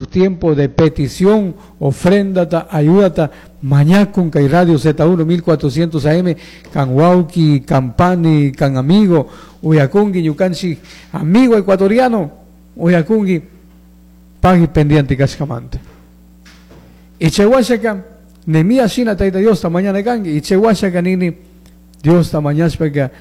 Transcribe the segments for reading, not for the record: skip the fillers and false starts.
Tiempo de petición, ofrendata, ayudata, mañakun kay Radio Z1 1400 AM, kan wauki, kan pani, kan amigo, uyakungi ñukanchik amigo ecuatoriano, uyakungi pagui pendiente kashkamanta. Y chay washaka, Nehemías shina Tayta Diosta mañana kanki, y chay washaka nini Diosta mañashpaka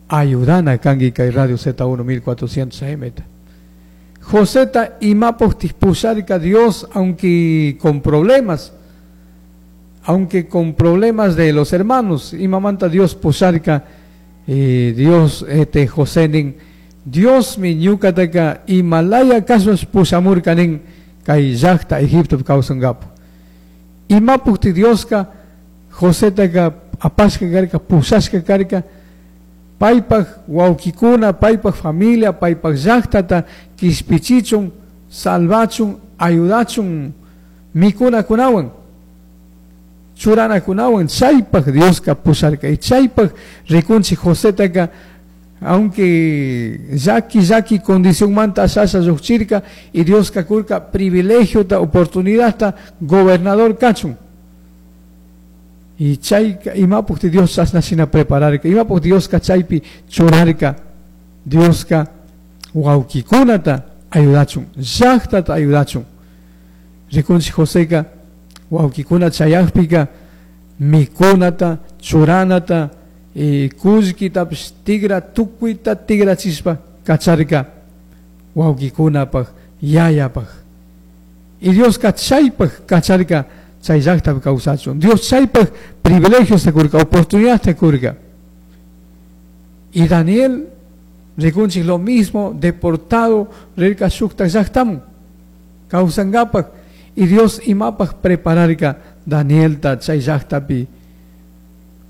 ayudana kanki kay Radio Z1 1400 AM. Joseta imapojtis pusharka Dios, aunque con problemas de los hermanos, imamanta Dios pusharka, Dios este José nin, Dios mi ñukataka imalaya kashpas pushamurka nin kay llaqta Egipto kawsankapu. Imapujti Dioska Josetaka apashka karka, pushashka karka, paypaj wawkikuna, paypaj familia, paypaj llaqtata kishpichichun, salvachun, ayudachun, mikunakunawan, churanakunawan, chaypaj Dioska pusharka. Y chaypaj rikunchik Josetaka, aunque llaki llaki condición manta ashasha lluqchirka, y Dioska kurka privilegiota, oportunidadta, gobernador kachun. Y chayka imapujti Dios chashna shina prepararka, imapuk Dioska chaypi churarka, Dioska wawkikunata ayudachun, llaqtata ayudachun. Rikunchik Joseka wawkikuna chayaqpika mikunata, churanata, y kullkitapish tigra tukuyta tigrachishpa kacharka wawkikunapaj, yayapaj. Y Dioska chaypaj kacharka chay llaqtapi kawsachun. Dios chaypaj privilegios kurka, oportunidad kurka. Y Daniel, rikunchik lo mismo, deportado, rirka shukta llaqtamun, kawsankapaj. Y Dios imapaj prepararka Danielta chay llaqtapi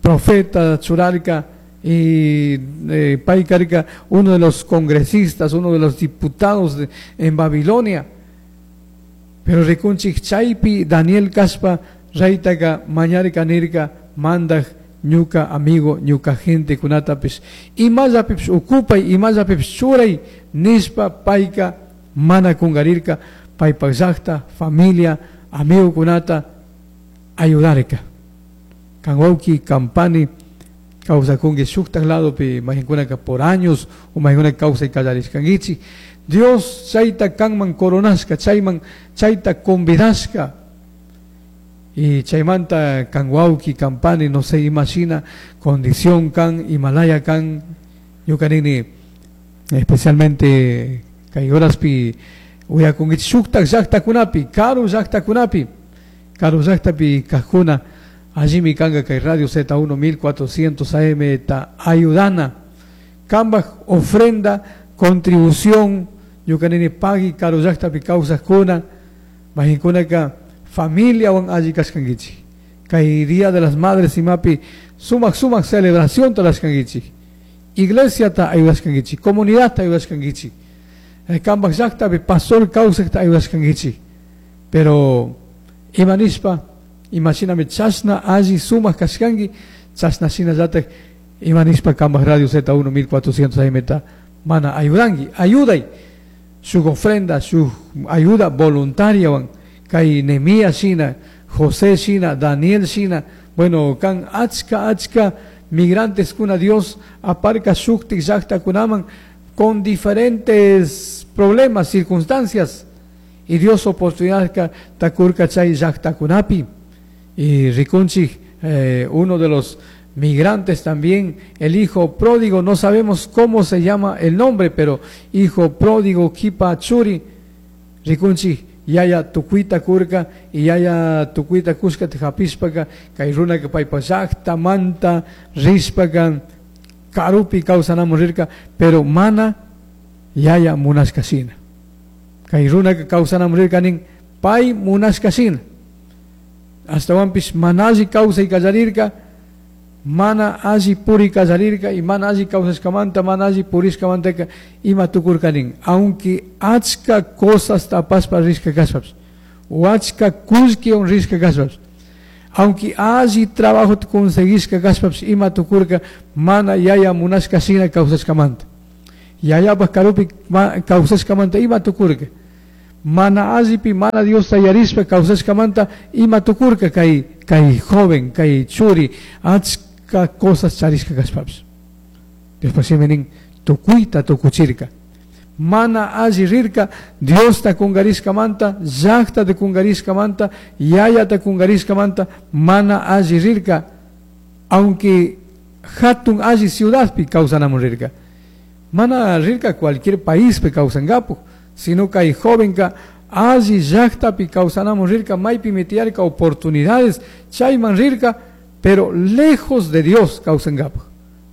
profeta churarka, y pay karka uno de los congresistas, uno de los diputados en Babilonia. Pero rikunchik chaypi Daniel kashpa raytaka mañarka nirka mandaj ñuka amigo, ñuka gente kunatapish imallapipish ocupay, imallapipish churay nishpa payka mana kungarirka, paypak llaqta, familia, amigo kunata ayudarka. Kan wawki, kan pani kawsakunki shuktak ladopi mayqinkunaka por años o mayqinkunaka kawsay kallarishkankichik. Dios chayta kanman coronashka, chayman chayta convidashka. Y chaymanta kan wawki, kan pani, no sé, imashina condición kan, Himalaya kan, ñuka nini, especialmente kay horaspi uyakunkichik shuktak llaqtakunapi, karu llaqtakunapi, karu llaqtapi kajkuna, allimi kanka kay Radio Z1 1400 AM ta ayudana, kambaj ofrenda, contribución, ñuka nini pagui karu llaqtapi kawsajkuna, mayqinkunaka familia wan alli kashkankichik. Kay Día de las Madres imapi sumaq sumaq celebración tarashkankichik. Iglesia ta ayudashkankichik, comunidad ta ayudashkankichik. Kambaj llaqtapi pastor kawsajta ayudashkankichik. Pero imanishpa, imashinami chashna alli sumaq kashkanki, chashna shinallataj imanishpa kambaj Radio Z1 1400 AM ta mana ayudanki, ayuday shuk ofrenda, shuk ayuda voluntaria wan. Kay Nehemías shina, José shina, Daniel shina, bueno, kan achka achka migrantes kuna Dios aparca shuktik llaqtakunaman con diferentes problemas, circunstancias, y Dios oportunidad ka takurka chay llaqtakunapi. Y rikunchik, uno de los migrantes también, el hijo pródigo, no sabemos cómo se llama el nombre, pero hijo pródigo Kipa Churi, rikunchik yaya tukuita kurka, y yaya tukuita kuska tjapispaka, kay runaka paypa llaqta manta rispaka, karupi kawsanamun rirka, pero mana yaya munashka shina. Kay runaka kawsanamun rirka nin pay munashka shina. Astawanpish mana alli kawsay kallarirka, mana alli puri kallarirka, y mana alli kawsashkamanta, mana alli purishkamantaka ima tukurka nin. Aunque achka cosas tapaspa rishka kashpapish, o achka kullkiwan rishka kashpapish, aunque alli trabajo conseguishka kashpapish, ima tukurka mana yaya munashka shina kawsashkamanta. Yayapaj karupi kawsashkamanta ima tukurka. Mana allipi mana Diosta yarishpa kawsashkamanta ima tukurka kay kay joven kay churi achka cosas charishka kashpapish. Diospaj shimi nin tukuyta tukuchirka. Mana alli rirka Diosta kungarishkamanta, llaqtata kungarishkamanta, yayata kungarishkamanta mana alli rirka, aunque hatun alli ciudadpi kawsanamun rirka. Mana rirka cualquier paispi kawsankapuj, sino kay jovenka alli llaqtapi kawsanamun rirka, maypimi tiyarka oportunidades chayman rirka, pero lejos de Dios kawsankapuj,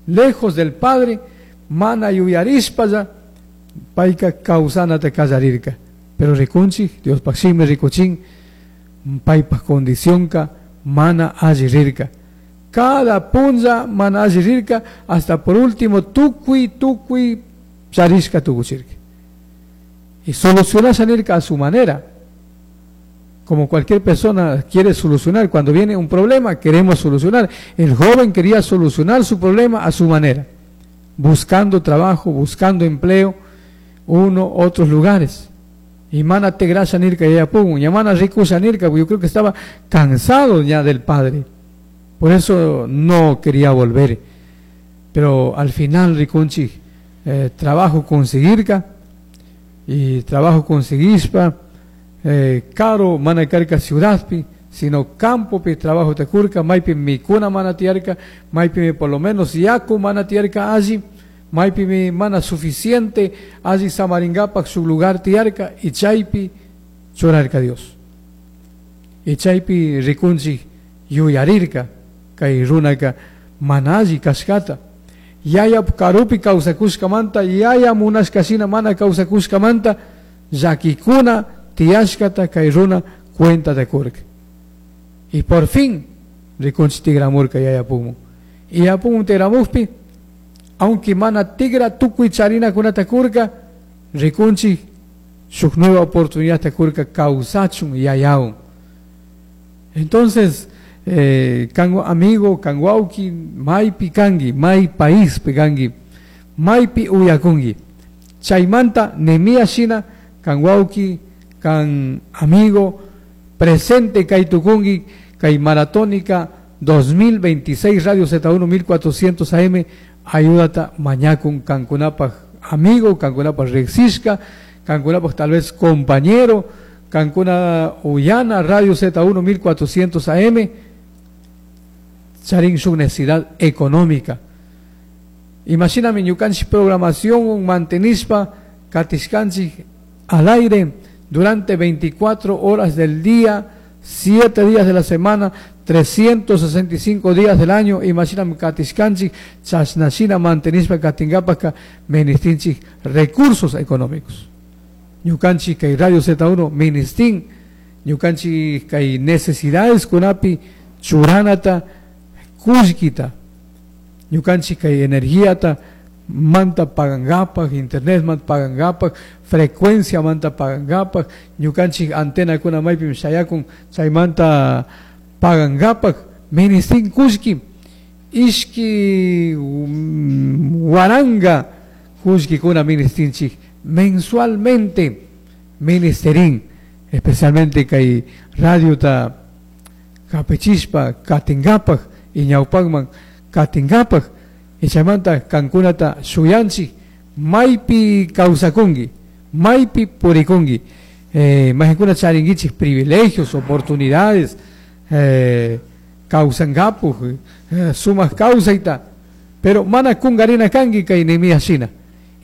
lejos del Padre, mana yuyarishpalla payka kawsanata kallarirka. Pero rikunchik, Diospaj shimi rikuchin, paypaj condicionka mana alli rirka. Cada punlla mana alli rirka, hasta por último tukuy tukuy charishka tukuchirka. Y solucionarse nirka a su manera. Como cualquier persona quiere solucionar, cuando viene un problema queremos solucionar. El joven quería solucionar su problema a su manera, buscando trabajo, buscando empleo, uno, otros lugares. Y mana tigrasha nirka yayapungun, y mana rikusha nirka, yo creo que estaba cansado ya del padre. Por eso no quería volver. Pero al final rikunchik, trabajo conseguirka, y trabajo conseguispa, caro mana karka ciudadpi, sino campopi trabajo takurka, maypi mikuna mana tiyarka, maypi por lo menos yaku mana tiyarka alli, maypi mana suficiente alli samaringapak su lugar tiyarka, y chaypi churarka Dios. Y chaypi rikunchik yuyarirka, kay runaka mana alli kashkata. Yaya karupi kawsakushkamanta, yaya munashkashina mana kawsakushkamanta, llakikuna tiyashkata kay runa cuenta takurka. Y por fin rikunchik tigramurka yayapunmun. Y yayapunmun tigramukpi, aunque mana tigra tukuy charinakunata kurka, rikunchik shuk nueva oportunidad takurka kawsachun yayawan. Entonces, kango amigo, kan wawki, maypi kanki, may paispi kanki, maypi uyakunki. Chaymanta Nehemías shina kan wawki, kan amigo, presente kay tukunki, kay maratónica 2026 Radio Z1 1400 AM, ayúdata mañakun kankunapaj amigo, kankunapaj riqsishka, kankunapaj tal vez compañero, kankuna uyana Radio Z1 1400 AM, charin su necesidad económica. Imagíname ñukanchik programación mantenispa katishkanchik al aire durante 24 horas del día, 7 días de la semana, 365 días del año. Imagíname katishkanchik chashnashina mantenispa katingapaka ministinchik recursos económicos. Ñukanchik kay Radio Z1 ministin, ñukanchik kay necesidades kunapi churanata kullkita, ñukanchik kay energiata manta pagangapak, internet manta pagangapak, frecuencia manta pagangapak, ñukanchik antena kuna maypim shayakun chaymanta pagangapak, ministin kullki, ishki waranga kullkikuna ministinchik mensualmente ministerin, especialmente kay radiota kapichispa katingapak y ñawpakman katingapak. Y chaymanta kankunata shuyanchik maypi kawsakunki, maypi purikunki, mayqankuna charinkichik privilegios, oportunidades, kawsankapuj, sumaq kawsayta, pero mana kunkarina kanki kay Nehemías shina.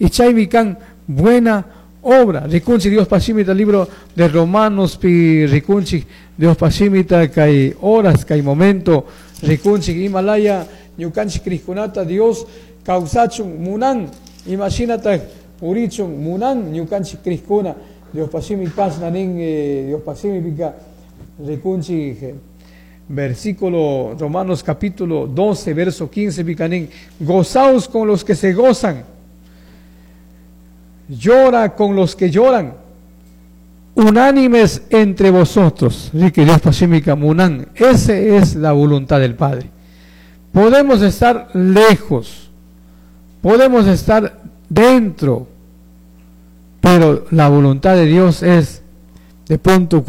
Y chaymi kan buena obra. Rikunchik Dios pashimita libro de Romanos pi rikunchik Dios pashimita kay horas kay momento rikunchik imalaya ñukanchik krishkunata Dios kawsachun munan, imashinata purichun munan ñukanchik krishkuna Dios pashimi kashna nin, Dios pashimi pika rikunchik versículo Romanos capítulo 12 verso 15 pika nin, gozaos con los que se gozan, llora con los que lloran, unánimes entre vosotros. Rique Dios pashimika munan, esa es la voluntad del Padre. Podemos estar lejos, podemos estar dentro, pero la voluntad de Dios es De pronto.